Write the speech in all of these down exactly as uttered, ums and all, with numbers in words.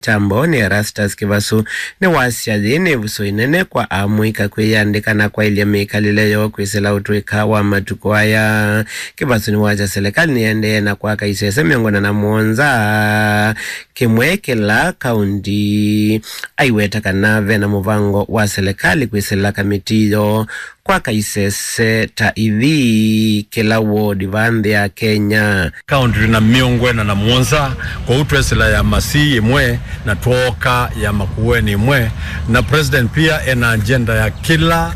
Kyambo nĩ Erastus Kĩvasũ nĩwasya yĩĩ nĩ ĩvuso ĩnene kwa amũika kwĩyandĩka na kwaĩlya mĩkalĩle yoo kwĩsĩla ũtũĩka wa matukũ aya. Kĩvasũ nĩwasya selekalĩ nĩyaendee na kwaka isese mĩongo ĩna na mũonza kĩmwe kĩla kaũnti. Aiweta kana vena mũvango wa selekalĩ kwĩsĩla kamĩtĩ yoo kwaka isese ta ithi kĩla ward va nthĩ ya Kenya. Kaũnti twĩ na mĩongo ĩna na mũonza, kwoou twesĩla ya Masii ĩmwe na twooka ya Makueni ĩmwe, na president pia ena agenda ya kĩla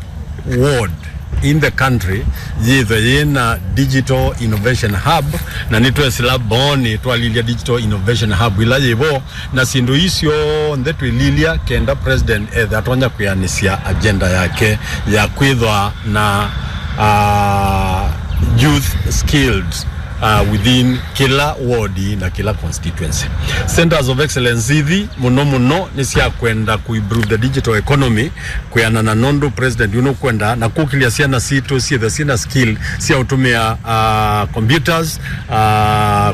ward in the country yĩthwe yĩna digital innovation hub, na nĩtwesĩla Booni twalilya digital innovation hub ila yĩvo, na syĩndũ ii syonthe twĩlilya kenda president ethe atonya kwĩanĩsya agenda yake ya kwĩthwa na, uh, youth skilled, uh, within kĩla ward na kĩla constituency. Centers of excellence ithi mũno mũno nĩ sya kwenda ku improve the digital economy, kwĩanana nũndũ president yu nũkwenda na kũkĩlya syana sitũ syĩthwe syĩna skill sya ũtũmĩa, uh, computers, uh,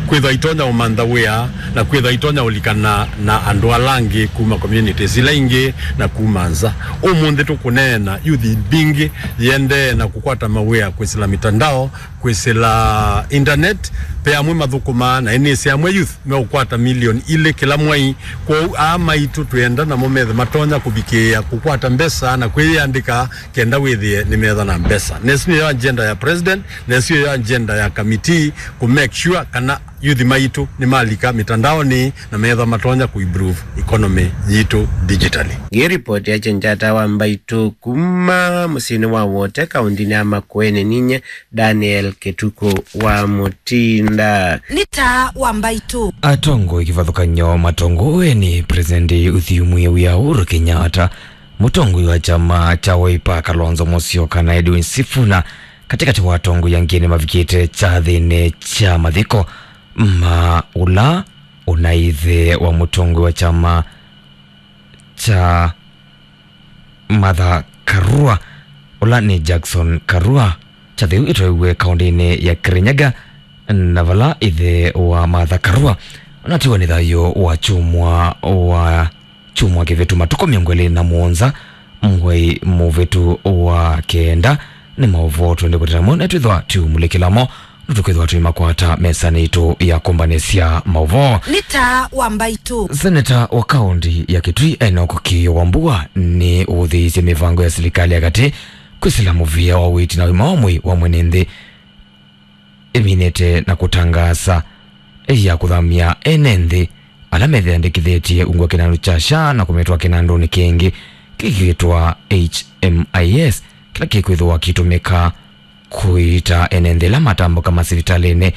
kwĩthwa itonya ũmantha wĩa na kwĩthwa itonya ũlikana na andũ ala angĩ kuma communities ila ingĩ na kuma nza. Ũmũnthĩ tũkũneena youth mbingĩ yĩendee na kũkwata mawĩa kwĩsĩla mitandao, kwĩsĩla internet, ve amwe mathũkũmaa na ĩnĩsĩ amwe youth meũkwata milioni ilĩ kĩla mwei. Kwoou aa maitũ twĩenda namo methe matonya kũvikĩĩa kũkwata mbesa na kwĩyĩandĩka kenda wĩthĩe nĩmetha na mbesa. Na ĩsu nĩyo agenda ya president, na ĩsu nĩyo agenda ya committee, ku make sure kana youth maitũ nĩmalika mitandaonĩ na metha matonya ku improve economy yitũ digitally. Ngĩripoti ya Chenjata wa Mbaitũ kuma mũsyĩnĩ wa Wote, kaũntinĩ ya Makueni, ninye Daniel Kĩtukũ wa Mũtinda. Nĩ taa wa Mbaitũ. Atongoi kĩvathũkany'o matongooe nĩ President ũthyũmũĩe wĩa Uhuru Kenyatta, mũtongoi wa kyama kya Wiper Kalonzo Musyoka na Edwin Sifuna, katĩkatĩ wa atongoi angĩ nĩmavikĩte kyathĩnĩ kya mathiko ma ũla ũnaĩ ĩthe wa mũtongoi wa kyama kya Martha Karua, ũla nĩ Jackson Karua. Kyathĩ ĩu ĩtwaiwe kaũntinĩ ya Kirinyaga, na vala ĩthe wa Martha Karua ũnatiwa nĩ thayũ wa kyumwa wa kyumwa kĩvĩtu, matukũ mĩongo ĩlĩ na mũonza mwei mũvĩtu wa kenda. Nĩ maũvoo twende kũteta mo na twĩthwa tũmulĩkĩla mo. Nĩtũkwĩthwa tũimakwata mesanĩ itũ ya kũmbanĩsya maũvoo. Nĩ taa wa Mbaitũ. Seneta wa kaũnti ya Kitui Enock Kĩĩo Wambua nĩ ũthĩĩsye mĩvango ya silikalĩ ya katĩ kwĩsĩla mũvĩa wa ũiiti na ũima wa mwĩĩ wa mwene nthĩ ĩminĩte na kũtangaasa ya kũthamya ene nthĩ ala methĩandĩkĩthĩtye ungu wa kĩnandũ kya SHA na kũmĩtwaa kĩnandũnĩ kĩngĩ kĩkĩtwa H M I S, kĩla kĩkwĩthĩwa kĩitũmĩka kũiita ene nthĩ ĩla matambũka masivitalĩnĩ.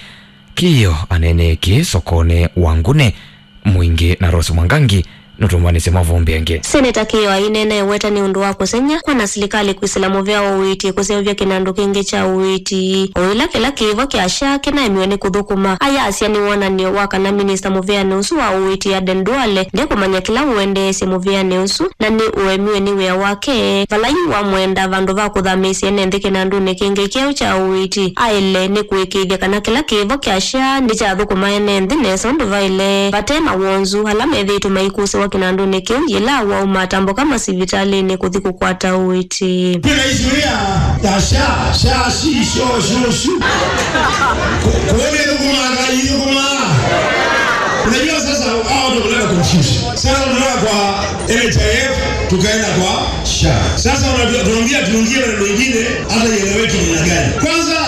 Kĩĩo aneenee kĩĩ sokonĩ wa Ngune. Mwingĩ na Rose Mwangangi nũtũmbanĩsye mavumbi angĩ. Seneta Kĩĩo aineena eweta nĩ ũndũ wa kũsengy'a kwa na silikalĩ kwĩsĩla mũvea wa ũiiti kũseũvya kĩnandũ kĩngĩ kya ũiiti, o ĩla kĩla kĩĩvo kya SHA kĩnaemiwe nĩ kũthũkũma. Ayasya nĩ wonany'o wa kana minista mũveanĩ ũsu wa ũiiti Aden Duale ndekũmanya kĩla ũendeesye mũveanĩ ũsu, na nĩ ũemiwe nĩ wĩa wake, vala yu wamwenda vandũ va kũthamĩĩsya ene nthĩ kĩnandũnĩ kĩngĩ kyeũ kya ũiiti, aĩle nĩ kũĩkĩĩthya kana kĩla kĩĩvo kya SHA nĩkyathũkũma ene nthĩ nesa ũndũ vaĩle, vate mawonzu ala methĩĩtwe maikũsĩwa kĩnandũnĩ kĩu yĩla wau matambũka masivitalĩnĩ kũthi kũkwata ũiiti. Kwĩna issue ya, ya SHA, SHA, shi, sho, shu, shu. Ku-, kuone thũkũma, ngai thũkũma. Unajua sasa, hao ndio kuleta confusion. Sasa tunatoka kwa N H I F, tukaenda kwa SHA. Sasa unajua, tunaambia tuingie maneno mengine, hata ieleweki ni namna gani. Kwanza,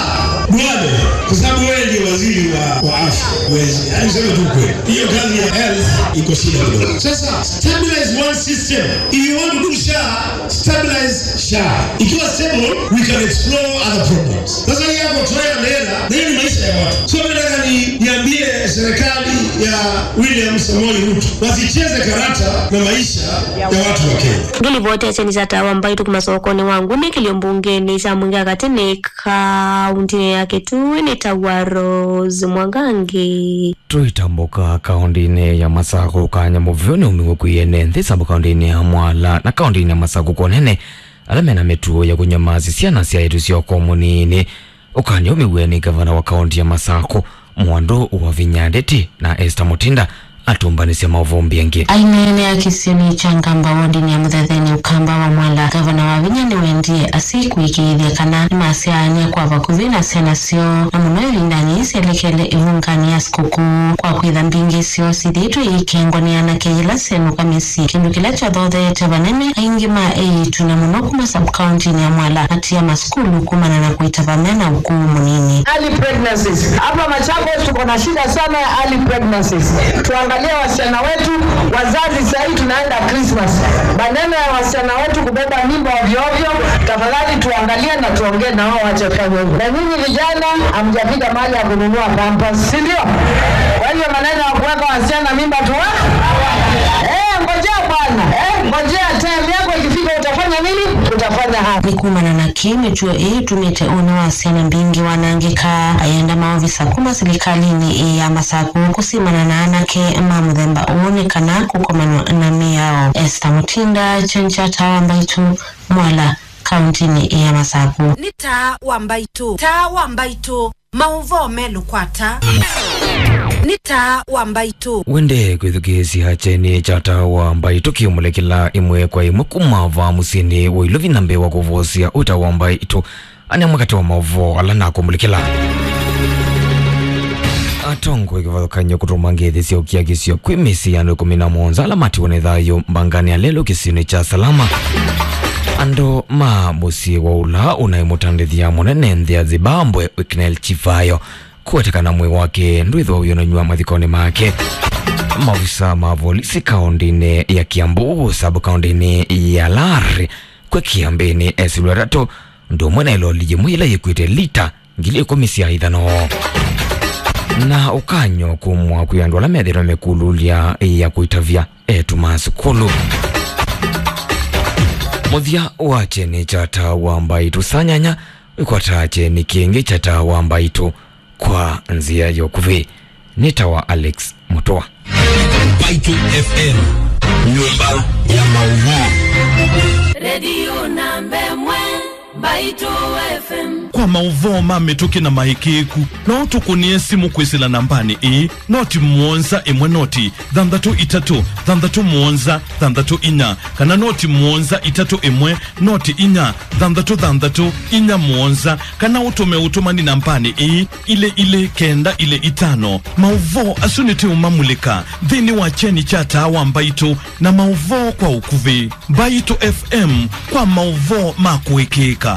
Duale, kwa sababu wewe ndio waziri wa, wa afya, huwezi. Yaani, sema tu kweli. Hiyo kazi ya health iko shida kidogo. Sasa, stabilize one system. If you want to do SHA, stabilize SHA. Ikiwa stable, we can explore other problems. Sasa hii yako try and error, na hiyo ni maisha ya watu. So, mimi nataka ni-, niambie serikali ya William Samoei Ruto, wasicheze karata na maisha ya watu wa Kenya. Ngĩlivoti ya kyeni kya taa wa Mbaitũ kuma sokonĩ wa Ngune kĩlio mbungenĩ kya Mwingi Katĩ nĩ kaũntinĩ ya Kitui nĩ ta wa Rose Mwangangi. Tũitambũka kaũntinĩ ya Masakũ, kanya mũveo nĩ umiwe kwĩ ene nthĩ sub kaũntinĩ ya Mwala na kaũntinĩ ya Masakũ kwa ũnene, ala mena mĩtuo ya kũnywa maasi syana sya ĩtu sya ũkũũ mũnini. Ũkany'o ũmiw'e nĩ ngavana wa kaũnti ya Masakũ, Mwandũ wa Vinya Ndeti, na Esther Mutinda atũmbanĩsya maũvoo mbiange. Aineenea kĩsionĩ kya Ngamba wodinĩ ya Mũthetheni Ũkamba wa Mwala, ngavana Wavinya nĩwendie asyai kũĩkĩĩthya kana nĩmasyaanĩa kwa vakuvĩ na syana syoo, na mũno ĩvindanĩ yĩĩ syelekele ĩvunganĩ ya sikũkũ, kwa kwĩtha mbingĩ syoo syĩthĩĩtwe iikengwa nĩ anake yĩla syenũka mĩsyĩ, kĩndũ kĩla kyathotheete vanene aingĩ ma eĩtu, na mũno kuma sub-county-inĩ ya Mwala, matia masukulu kumana na kũitava mena ũkũũ mũnini. Early pregnancies. Hapa Machakos tuko na shida sana ya early pregnancies. Tuangalie wasichana wetu, wazazi, sahii tunaenda Christmas. Maneno ya wasichana wetu kubeba mimba ovyo ovyo, tafadhali tuangalie na tuongee na wao wache kufanya hivyo. Na nyinyi vijana, hamjafika mahali ya kununua pampers, si ndio? Kwa hivyo maneno ya kuweka wasichana mimba tuwa-, eh, ngojea bwana, eh, ngojea time yako ikifika utafanya nini? Utafanya haya. Nĩ kumana na kĩĩ mĩtuo ĩĩ ĩtumĩte ũnĩ wa syana mbingĩ wanangĩka, ayenda maovisa kuma silikalĩnĩ ĩĩ ya Masakũ kũsimana na anake ma mũthemba ũũ nĩ kana kũkomanwa na mĩao. Esther Mutinda, Kyeni kya Taa wa Mbaitũ, Mwala, kauntinĩ ya Masakũ. Nĩ Taa wa Mbaitũ, Taa wa Mbaitũ, maũvoo me lũkwata. Nĩ Taa wa Mbaitũ. Wende kwĩthukĩĩsya Kyeni kya Taa wa Mbaitũ kĩũmũlĩkĩla ĩmwe kwa ĩmwe kuma vaa mũsyĩnĩ wa Ilovi na mbee wa kũvosya ũta wa Mbaitũ. Ane mwakati wa maũvoo ala nakũmũlĩkĩla. Atongoi kĩvathũkany'o kũtũma ngeithi sya ũkiakisyo kwĩ mĩsyĩ ya andũ ĩkũmi na mũonza ala matiwe nĩ thayũ mbanganĩ ya lelũ kĩsionĩ kya Salama. Andũ ma mũsyĩ wa ũla ũnaĩ mũtandĩthya mũnene nthĩ ya Zimbabwe, Wicknell Chivayo, kũwetekana mwĩĩ wake ndwĩthwa ũyonanywa mathikonĩ make. Maofisa ma volisi kaũndĩnĩ ya Kiambu, sub-kaũndĩnĩ ya Lari, kwĩ Kiambĩnĩ esilũ atatũ, ũndũ ũmwe na ĩloli yĩmwe yĩla yĩkuĩte lita ngili ĩkũmi sya ithano. Na ũkany'o kumwa kwĩ andũ ala methĩĩtwe mekũlũlya ya kũitavya eĩtu ma sukulu. Mũthya wa Kyeni kya Taa wa Mbaitũ saa nyanya, wĩkwata Kyeni kĩngĩ kya Taa wa Mbaitũ kwa nzĩa ya ũkuvĩ. Nĩtawa Alex Mũtũa. Mbaitũ F M, nyũmba ya maũvoo. Redio namba ĩmwe, Mbaitũ F M. Kwa maũvoo ma mĩtũkĩ na maĩkĩĩku, no ũtũkũnĩe simũ kwĩsĩla nambanĩ ĩĩ, noti mũonza ĩmwe noti thanthatũ itatũ thanthatũ mũonza thanthatũ inya, kana noti mũonza itatũ ĩmwe noti inya thanthatũ thanthatũ inya mũonza, kana ũtũme ũtũmani nambanĩ ĩĩ, ilĩ ilĩ kenda ilĩ itano. Maũvoo asu nĩtũũmamulĩka nthĩnĩ wa Kyeni kya Taa wa Mbaitũ na maũvoo kwa ũkuvĩ. Mbaitũ F M kwa maũvoo ma kũĩkĩĩka.